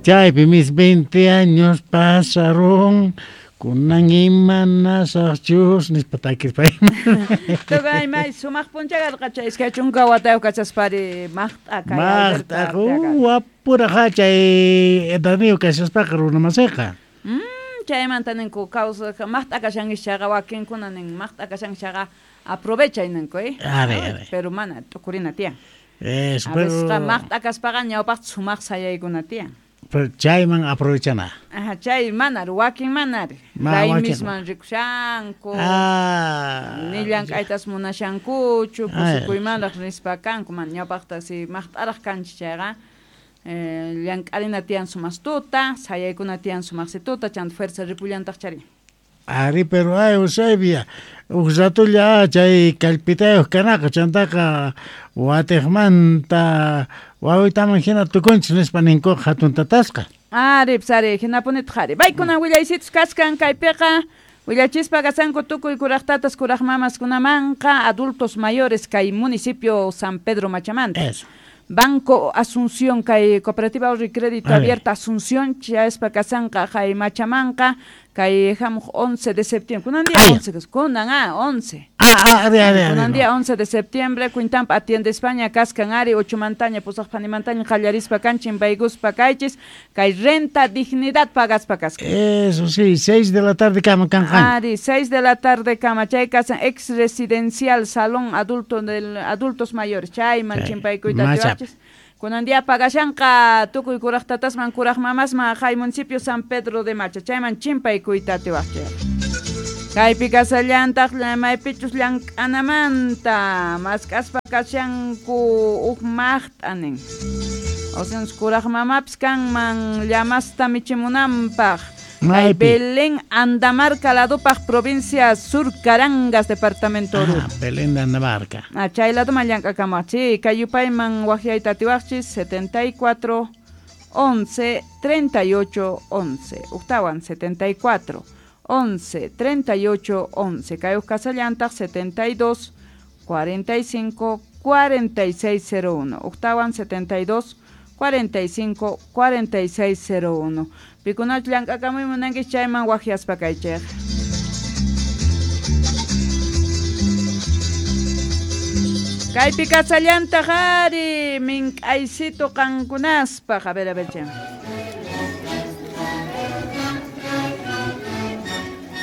Chaypi mis 20 años pasaron kunan imanasaqchus nispa takirpay. Tukay may sumaq puncha karqa chay 20 watayuq kachaspari maqt'a kay Maqt'a wapuraqa chay edadniyuq kashaspaqa runa masiqa. Chaymanta ninku kawsaq maqt'a kashankish chayqa wakinkuna nin maqt'a kashankish chayqa aprovechay ninku A ver, a ver. Pero mana t'ukurina tiyan. Eso, A veces pero maqt'a kaspaqa ñawpaqta sumaq sayaykuna tiyan. Pero chayman aprovechana. Ajá, chay manari, wakin manari. Raymisman rikushanku. Ni llank'aytas munashankuchu, kusikuymanraq rispa kanku, mana ñawpaqta si maqt'araq kanchis chayqa, llank'arina tiyan sumastuta, sayaykuna tiyan sumaqsituta, chanta fuerza ripullantaq chari. Ari, pero ay, Eusebia, uj ratolla chay kallpitayuq kanaqa, chantaqa watiqmanta wawitaman hina tukunchis nispa ninkuqa hatun tatasqa. Ari, psari, hinapunitaq ari. Paykuna willaysitus kaskan kaypiqa, willachispa kasanku tukuy kuraq tatas, kuraq mamas kunamanqa, adultos mayores kay municipio San Pedro Machamanta. Eso. Banco Asunción, kay Cooperativa Ahorro y Crédito Abierta Asunción, chayaspa kasanqa kay Machamanqa, kay hamuq 11 de septiembre. Kunan día 11, kunan, 11. Ari, ari, ari. Kunan día 11 de septiembre, Quintampa Atiende España, kaskan ari, 8 mantaña, pusaq panimantaña, qallarispa kanchin, bayguspa kaychis, kay renta dignidad pagaspa kaskan. Eso sí, 6 de la tarde kama kanqan. Ari, 6 de la tarde kama, chay kasan ex residencial salón adulto del adultos mayores, chayman chimpaykuyta atiwaqchis. Kunan día pagashanqa tukuy kuraq tatasman, kuraq mamasman, hay municipio San Pedro de Macha, chayman chimpaykuyta atiwaqchis. Kaypi kasallantaq maypichus llank'anamanta mask'aspa kashanku uj maqt'a nin. Osean kuraq mamapis kanman llamasta michimunanpaq. Kay Belén Andamarca ladupaq provincia Sur Carangas departamento Oruro. Belén de Andamarca. Chay laduman llank'akamuqchi. Kay yupayman waqyayta atiwaqchis 74 11 38 11. Uktawan 74 11 38 11. Kay uj kasallantaq 72 45 46 01. Uktawan 72 45 46 01. Pikunach llank'akamuy munankish chayman waqyaspa kaychik. Kaypi kasallantaq ari mink'aysito qankunaspaq. A ver, chay.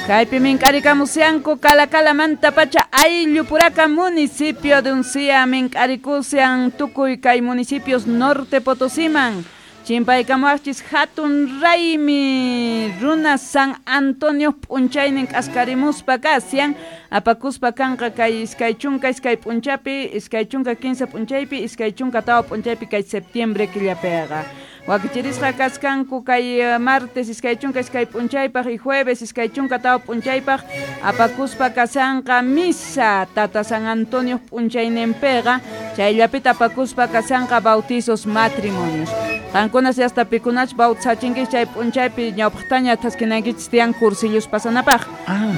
Kaypi mink'arikamusianku Calacala pacha Ayllupuraka municipio de Uncía mink'arikusian tukuy kay municipios norte Potosiman. Chimpaykamuaqchis hatun raymi runa San Antonio p'unchaynin k'askarimuspa kasian apakuspa kanqa kay 22 p'unchapi, 25 p'unchaypi, 24 p'unchaypi kay septiembre killapiqa. Wakichirisqa kaskanku kay martes 22 p'unchaypaq y jueves 24 p'unchaypaq apakuspa kasanqa misa Tata San Antonio p'unchayninpiqa chayllapita apakuspa kasanqa bautizos matrimonios. Qankunas hasta pikunach bautizachinkichis chay p'unchaypi ñawpaqtaña thaskinankichis tiyan cursillos pasanapaq.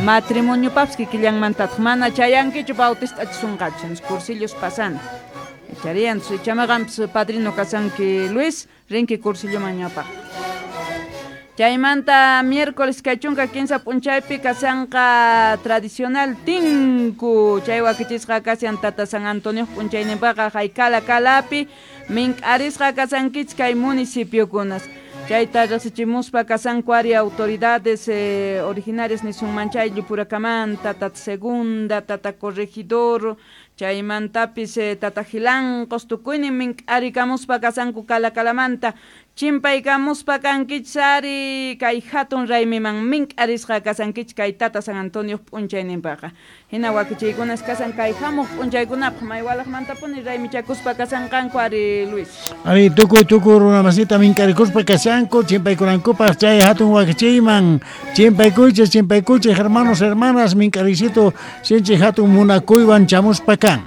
Matrimoniopapis kikillanmantataq mana chayankichu bautistachisunqachu cursillos pasana. Charian, chamaqanpis padrino kasanki Luis, rinki cursilloman ñawpaq. Chaymanta miércoles kay 15 p'unchaypi kasanqa tradicional tinku chay wakichisqa kasian Tata San Antonio p'unchayninpaqa hay Cala Calapi mink'arisqa kasankichis kay municipiokunas. Chayta riqsichimuspa kasanku ari autoridades originarias nisunman chay Llupurakamanta, Tata Segunda, Tata Corregidor, chaymantapis Tata Gilancos, tukuynin mink'arikamuspa kasanku Cala Calamanta. Chimpaykamuspa kankichis ari kay hatun raymiman mink'arisqa kasankichis kay Tata San Antonio p'unchayninpaqa. Hina wakichiykunas kasan kay hamuq p'unchaykunapaq maywalaqmantapuni raymichakuspa kasanqanku ari Luis. Ari tukuy tukuy runa masita mink'arikuspa kasanku chimpaykunankupaq chay hatun wakichiyman chimpaykuychis chimpaykuychis hermanos hermanas mink'arisito sinchi hatun munakuywan chamuspa kan.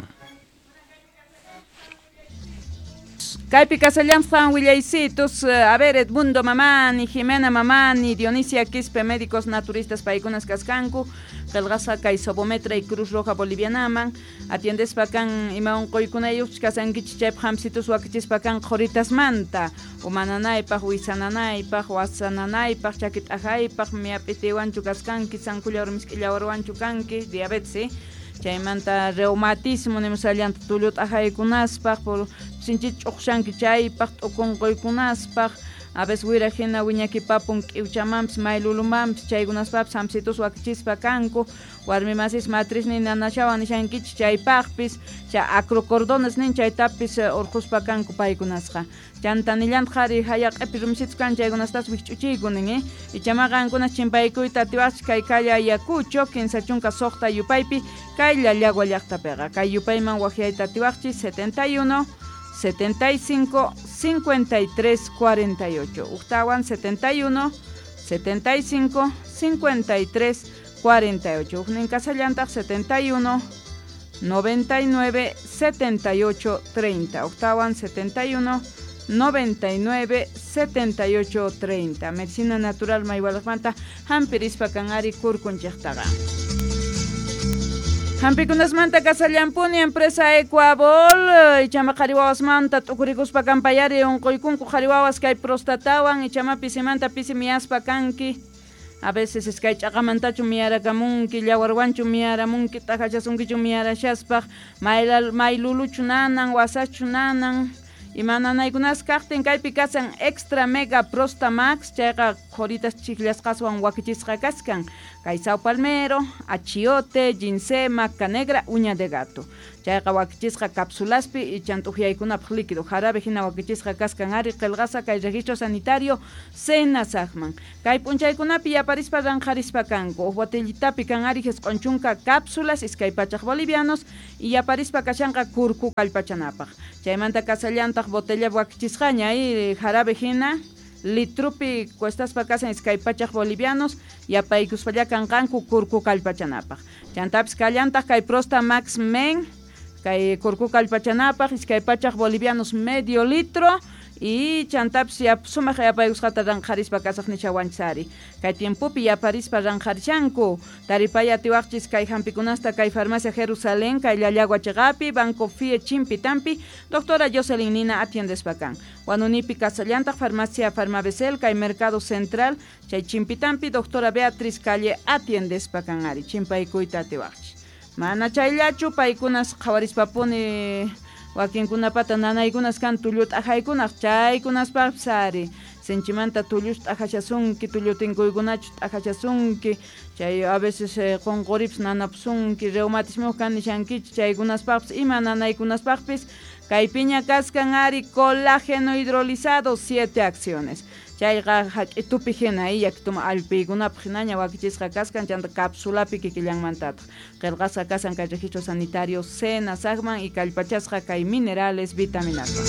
Kaypi kasallantan willaysitos, a ver, Edmundo Mamani, Jimena Mamani, Dionisia Quispe, médicos naturistas paykunas kaskanku, qillqasqa kay Sobometra y Cruz Roja Bolivianaman, atiendespa kan ima unquykunayuqchus kasankichik chaypaq hamsitus wakichispa kan qhuritasmanta, umananaypaq, wisananaypaq, wasananaypaq, chaki t'ajaypaq, miyap'itiwanchu kaskanki, sankullawar misk'illawarwanchu kanki, diabetes, chaymanta reumatismo nimusallanta tullu t'ajaykunaspaq, por sinchi ch'uqshanki chaypaq, t'ukunquykunaspaq, a veces wira hina wiñakipapun k'iwchamanpis maylulumanpis chaykunaspapis hamsitus wakichispa kanku, warmi masis matriz nin nanashawan nishankichik chaypaqpis, chay acrocordones nin chaytapis urquspa kanku paykunasqa. Chanta nillantaq qhari hayaq'ipi rumisitus kan chaykunastas wikch'uchiyku nin, ichama qankunas chimpaykuyta atiwaqchik kay calle Ayacucho 36 yupaypi kay Llallagua llaqtapiqa. Kay yupayman waqyayta atiwaqchik 71 75 53 48. Uktawan 71 75 53 48. Uknin kasallantaq 71 99 78 30. Octawan 71 99 78 30. Medicina natural maywalaqmanta hampirispa kanari kurkunchiktaqa. Hampikunasmanta kasallampuni empresa Ecuabol, ichama qhari wawasmanta t'ukurikuspa kanpayari unquykunku qhari wawas kay prostatawan, ichama pisimanta pisi miyaspa kanki. A veces iskay ch'aqamantachu miyarakamunki, llawarwanchu miyaramunki, t'ajachasunkichu miyarashaspaq, mayluluchu nanan, wasachu nanan. Ima nanaykunas kaqtin kaypi kasan Extra Mega Prosta Max, chayqa qhuritas chikllasqaswan wakichisqa kaskan. Kay sao palmero, achiote, ginseng, maca negra, uña de gato. Chayqa wakichisqa cápsulaspi y chant'uqyaykunapaq líquido jarabe hina wakichisqa kaskan ari qillqasqa kay registro sanitario Senasaqman. Kay p'unchaykunapi yaparispa ranqharispa kanku. Uj botellitapi kan ari 90 cápsulas 200 bolivianos y yaparispa kashanqa kurku kallpachanapaq. Chaymanta kasallantaq botella wakichisqaña y jarabe hina litrupi cuestaspa kasan 200 bolivianos yapaykuspalla kanqanku kurku kallpachanapaq. Chantapis kallantaq kay Prosta Max Men kay kurku kallpachanapaq 200 bolivianos medio litro y chantapis sumaq yapaykusqata ranqharispa kasaq nishawanchis. Kay tiempopi yaparispa ranqharishanku. Taripaya atiwaqchis kay hampikunasta kay farmacia Jerusalén, kay Llallagua chiqapi, Banco Fie Chimpitampi, doctora Jocelyn Nina atiendespa kan. Huanunipi kasallantaq farmacia Farmabesel, kay Mercado Central, chay Chimpitampi, doctora Beatriz Calle atiendespa kan ari, chimpaykuyta atiwaqchis. Mana chayllachu paykunas qhawarispapuni wakinkunapata nanaykunas kan tullu t'ajaykunaq chaykunaspaqpis ari. Sinchimanta tullus t'ajashasunki, tullutinkuykunachu t'ajashasunki, chay a veces qunquripis nanapusunki, reumatismo kan nishankichik chaykunaspaqpis ima nanaykunaspaqpis kaypiña kaskan ari colágeno hidrolizado 7 acciones. Chayqa hak'itupi hina yakituma allpiykunapaq hinaña wakichisqa kaskan chanta cápsulapi kikillanmantataq. Qillqasqa kasan kay registro sanitario Senasaqman y kallpachasqa kay minerales vitaminaswan.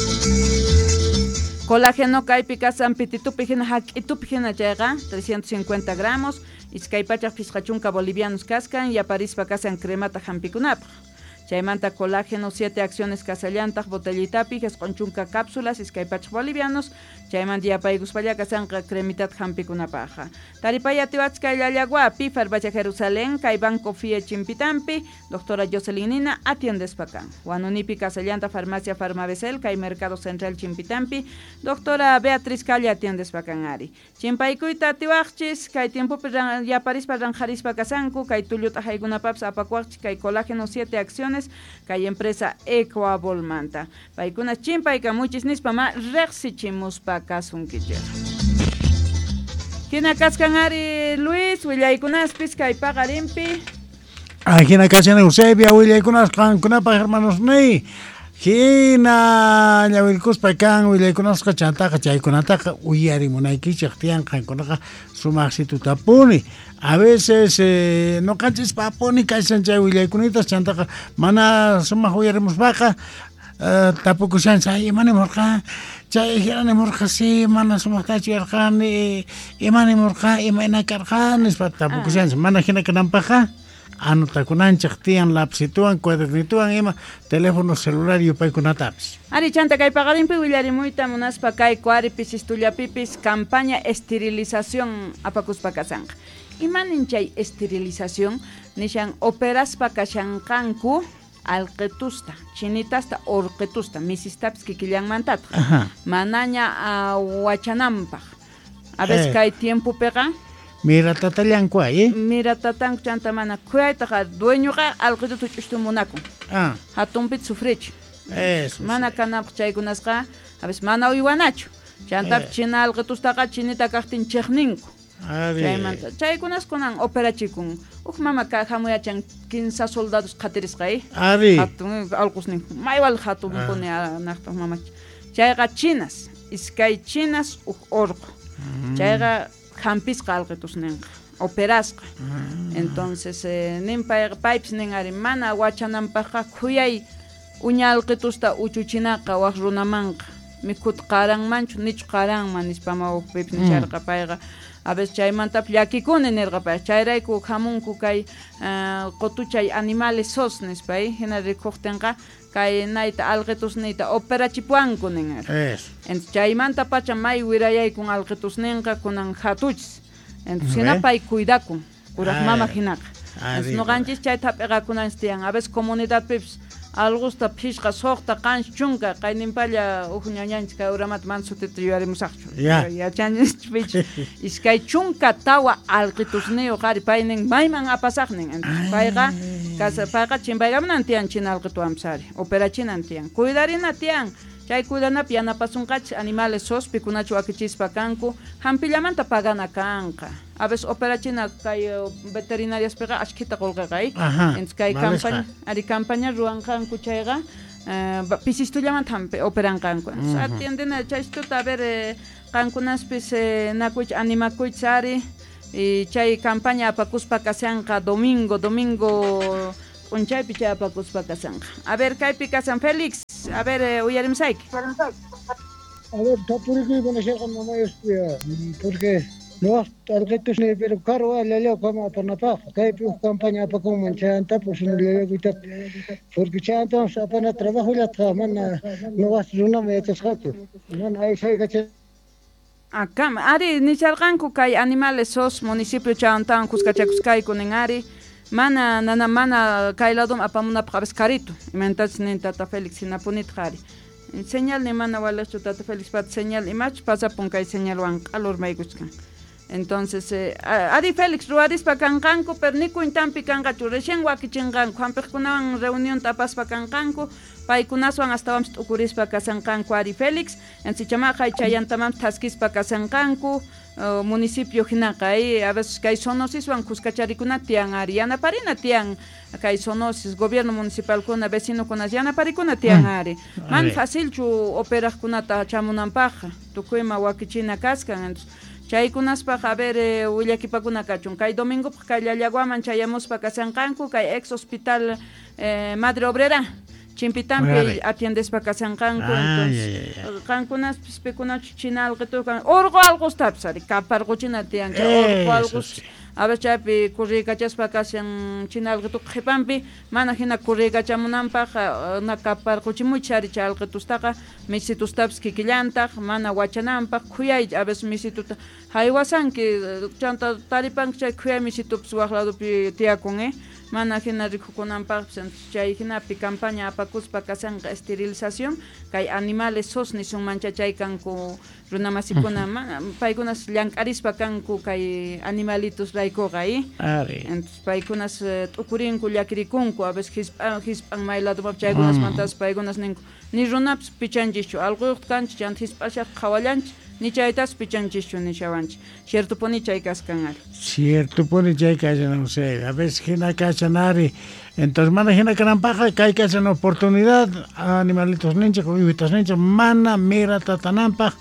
Colágeno kaypi kasan pititupi hina hak'itupi hina chayqa 350 gramos, 250 bolivianos kaskan yaparispa kasan cremata hampikunapaq. Chaymanta colágeno 7 acciones kasallantaq botellitapi 90 cápsulas 200 bolivianos, chaymanta yapaykuspalla kasanqa cremitat hampikunapaqqa. Taripaya atiwachis kay Llallaguapi, Farmacia Jerusalén, kay Banco Fie Chimpitampi, doctora Jocelyn Nina atiendespa kan. Huanunipi kasallanta Farmacia Farmabesel, kay Mercado Central Chimpitampi, doctora Beatriz Calle atiendespa kan ari. Chimpaykuyta atiwaqchis, kay tiempopi yaparispa ranqharispa kasanku, kay tullu t'ajaykunapapis apakuwaqchis kay colágeno 7 acciones kay empresa Ecuabolmanta. Paykuna chimpaykamuchis nispa ma riqsichimuspa kasunkichik. Hina kaskan ari Luis willaykunaspis kay paqarinpi. Hina kashan Eusebia willaykunas qankunapaq hermanos ni. Hina ñawirkuspa kan willaykunasqa chantaqa chaykunataqa uyarimunaykichik tiyan qankunaqa sumaqsitutapuni. A veces noqanchis papuni kashan chay willaykunita chantaqa mana sumaq uyarimuspaqa tapukushanchis ay ima nimurqa chay hina nimurqa si mana sumaqtachu yarqani ima nimurqa imayna karqa nispa tapukushanchis mana hina kananpaqqa Anotakunanchik tiyan lapsituwan cuadernituwan ima teléfono celular yupaykunatapis. Ari chanta kay paqarinpi willarimuyta munaspa kay kuari pisistullapipis campaña esterilización apakuspa kasanqa. Imanin chay esterilización nishan operaspa kashanqanku alqitusta, chinitasta, orqitusta, misistapis kikillanmantataq. Manaña wachananpaq. A veces kay tiempopiqa mira tatallanku ay, Mira tatanku chanta mana khuyaytaqa dueñoqa alqituta ch'ustu munakun. Hatunpita sufrichi. Eso. Mana kananpaq chaykunasqa a veces mana uywanachu. Chantapis china alqitustaqa chinita kaqtin chiqninku. Chaymanta chaykunas kunan operachikun. Uj mama hamuyachan 15 soldados qhatirisqa Ari. Hatun alqusnin maywal hatunpuni naqtaq mamacha. Chayqa chinas, iskay chinas uj orqu. Chayqa hampisqa alqitusninqa, operasqa. Entonces nin paypis nin ari mana wachananpaqqa khuyay uña alqitusta uchuchinaqa waq runamanqa. Mikhut qaranmanchu nichu qaranman nispa mawpipis nisharqa payqa. A veces chaymantapis llakikuni nirqa pay. Chayrayku hamunku kay qutuchay animales sos nispa hina rikuqtinqa kay nayta alqitusniyta operachipuanku nin ari. Entonces chaymanta pacha may wirayaykun alqitusninqa kunan hatuchis. Entonces hina pay cuidakun kuraq mama hinaqa. Entonces nuqanchis chayta hap'iqakunanchis tiyan. A veces comunidadpipis algusta phishqa suqta qanchis chunka qayninpalla uj ñañanchis kay uramata mana sutita yuyarimusaqchu. Yachanchis iskay chunka tawa alqitusniyuq ari paynin mayman apasaqnin. Entonces payqa casa payqa chimpaykamunan tiyan china alqituwanpis ari operachinan tiyan cuidarina tiyan. Chay cuidanapi yanapasunqachis animales sos pikunachu wakichispa kanku hampillamanta pagana kanqa. A veces operachina kay veterinariaspiqa ashkhita qullqiqa Entonces kay campaña ari campaña ruwanqanku chayqa pisistullamanta hampi operanqanku. Entonces atiendena chaystuta a ver qankunaspis nakuychis animakuychis ari y chay campaña apakuspa kashanqa domingo p'unchaypi chay apakuspa kashanqa. A ver kaypi kasan Félix. A ver, uyarimsayki. A ver, tapurikuy munasharqa mamayuspia, porque no alqitusni pero karu llallawkama apanapaq kaypi uj campaña apakunman chayantapus llallawkuytap porque chayantapas apana trabajollatqa mana nuqas runama yachasqachu mana aysaykachay. Akam ari nisharqanku kay animales sos municipio chayantawan kuskachakuskayku nin ari mana nana mana kay ladum apamunapaq a veces carito imantachis nin tata Félix hinapunitaq ari señal ni mana waliqchu tata Félix pat señal imachus pasapun kay señalwan q'alurmaykuchkan. Entonces ari Félix ruwarispa kanqanku pero ni cuentanpi kanqachu recién wakichinqanku hampiqkunawan reunionta apaspa kanqanku paykunaswan astawanpis t'ukurispa kasanqanku ari Félix. Entonces chamaqa chayantamanpis thaskispa kasanqanku municipio hinaqa a veces kay zoonosiswan kuskacharikuna tiyan ari yanaparina tiyan kay zoonosis gobierno municipalkuna vecinokunas yanaparikuna tiyan ari man facilchu operaqkunata chamunanpaqqa tukuyma wakichina kaskan. Entonces chaykunaspaq a ver willakipakuna kachun kay domingopaq kay Llallaguaman chayamuspa kasanqanku kay ex hospital Madre Obrera chimpitampi atiendespa kasanqanku. Entonces qankunaspis pikunachu china alqitukan urqu alqustapis ari kaparquchina tiyan chay urqu alqus a ver chaypi kurriykachaspa kashan china alqituq qhipanpi mana hina kurriykachamunanpaq na kaparquchimuychis ari chay alqitustaqa misitustapis kikillantaq mana wachananpaq khuyay a veces misituta haywasanki chanta taripanki chay khuyay misitupis waq ladopi tiyakun mana hina rikukunanpaqpis. Chay hinapi campaña apakuspa kasanqa esterilización kay animales sos nisunmancha chay kanku runamasikuna mana paykunas llank'arispa kanku kay animalitos raykuqa Entonces paykunas t'ukurinku llakirikunku a veces hisp'an may ladomapis chaykunasmantas paykunas ninku ni runapis pichanchischu alquyuqta kanchis chanta hisp'ashaq qhawallanchis ni chaytas pichanchischu nishawanchis. Ciertopuni chay kaskan ari. Ciertopuni chay kashan, no sé, a veces hina kashan ari. Entonces mana hina kananpaqqa kay kashan oportunidad animalitos ninchik uywitas ninchik mana mira tatananpaq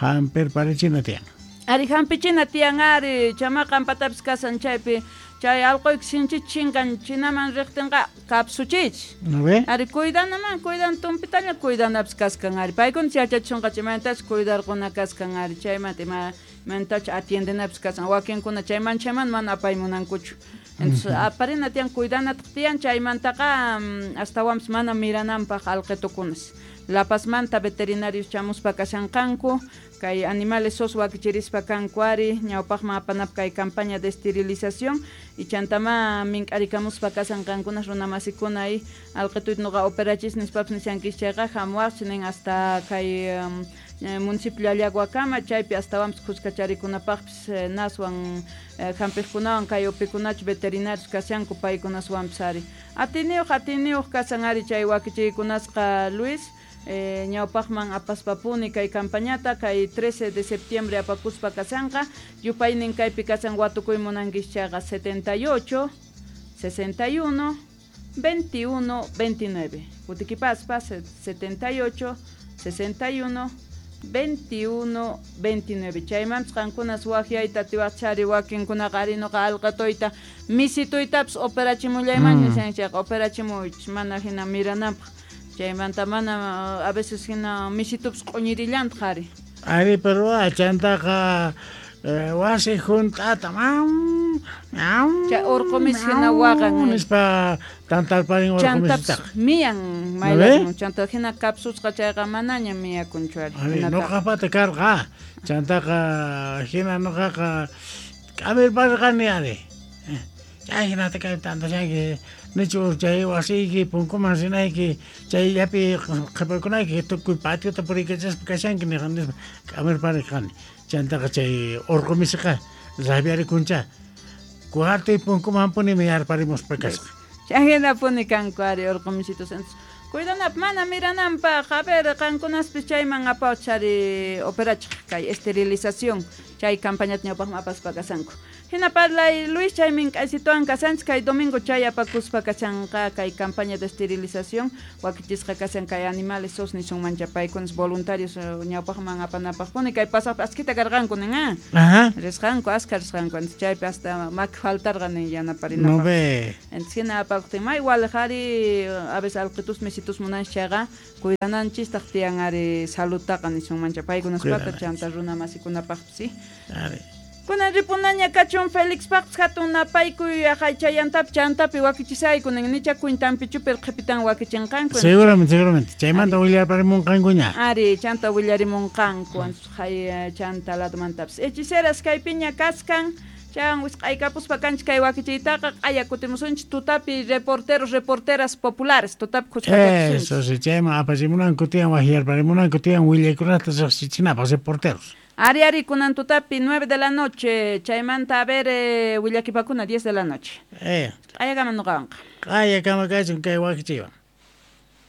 hampirparichina tiyan. Ari hampichina tiyan ari chamaqa ampatapis kasan chaypi Chay alquyki sinchi chinkan chinaman riqtinqa kapsuchich. ¿No ve? Ari cuidanaman, cuidan tumpitaña cuidanapis kaskan ari. Paykuna yachachunqa chaymantachu cuidarquna kaskan ari. Chaymanta imamantachu atiendenapis kaskan. Wakinkuna chayman chayman mana apaymunankuchu. Entonces aparina tiyan cuidanataq tiyan chaymantaqa astawanpis mana mirananpaq alqitukunas. La Pazmanta veterinarios chamuspa kashanqanku, kay animales sos wakichirispa kanku ari, ñawpaqman apanap kay campaña de esterilización y chantama mink'arikamuspa kasanqankunas runa masikuna y alqituyta nuqa operachis nispapis nishankis chayqa hamuwaqchis nin hasta kay municipio Llallaguakama chaypi astawanpis khuskacharikunapaqpis naswan hampiqkunawan kay upikunachu veterinarios kashanku paykunaswanpis ari. Atiniyuq kasan ari chay wakichiykunasqa Luis. Ñawpaqman apaspapuni kay campañata kay 13 de septiembre apakuspa kasanqa yupaynin kaypi kasan watukuy munankis chayqa 78 61 21 29 kutikipaspa 78 61 21 29 chaymanpis qankunas waqyayta atiwaqchari wakinkunaqa ari nuqa alqatuyta misituytapis operachimullayman nishan chayqa operachimuychis mana hina mirananpaq. Chaymanta mana a veces hina misitupis q'uñirillantaq ari. Ari pero chantaqa wasi junt'ata chay urqu misi hina waqan nispa tantarparin urqu misitaqa. Chantapis miyan maylamun chanta hina kapsusqa chayqa manaña miyakunchu ari. Ari nuqapata karqa chantaqa hina nuqaqa k'amirparqani ari. Chay hinata kay tantashanki nichu chay wasiyki punkuman rinayki chayllapi qhipakunayki tukuy patiota puriykachaspa kashanki nispa k'amirparqani. Chantaqa chay urqu misiqa rabiarikuncha cuartoy punkumanpuni miyarparimuspa kasqa. Chay hinapuni kanku ari urqu misitos. Entonces cuidanap mana mirananpaq a ver qankunaspis chayman apawchari operachiq kay esterilización chay campañata ñawpaqman apaspa kasanku. Hina parlay Luis chay mink'aysituwan kasanchis kay domingo chay apakuspa kashanqa kay campaña de esterilización wakichisqa kasan kay animales sos nisunmancha paykunas voluntarios ñawpaqman apanapaqpuni kay pasaqpi askita karqanku nin risqanku aska risqanku entonces chaypi hasta maki faltarqa nin yanaparinapaq. No ve. Entonces hina apakuqtin may waliq ari a veces alqitus misitus munanchis chayqa cuidananchistaq tiyan ari saludtaqa nisunmancha paykunaspata chanta runa masikunapaqpis sí. Ari. Kunan ripunaña kachun Felixpaqpis hatun napaykuy chayantap chantapi wakichisayku nin nicha cuintanpichupir qhipitan wakichinqanku. Seguramente, seguramente. Chaymanta willarimunqankuña. Ari, chanta willarimunqanku hay chanta ladomantapis. Hechiceras kaypiña kaskan chan wisq'aykapuspa kanchis kay wakichiytaqa q'aya kutimusunchis tutapi reporteros, reporteras populares tutapi khuskachakusunchis. Eso sí, chayman apachimunanku tiyan waqyarparimunanku tiyan willaykunata riqsichinapaq reporteros. Ari ari kunan tutapi 9 de la noche, chaymanta a ver willakipakuna 10 de la noche. Q'ayakama nuqawanqa. Q'ayakama kachun kay wakichiywan.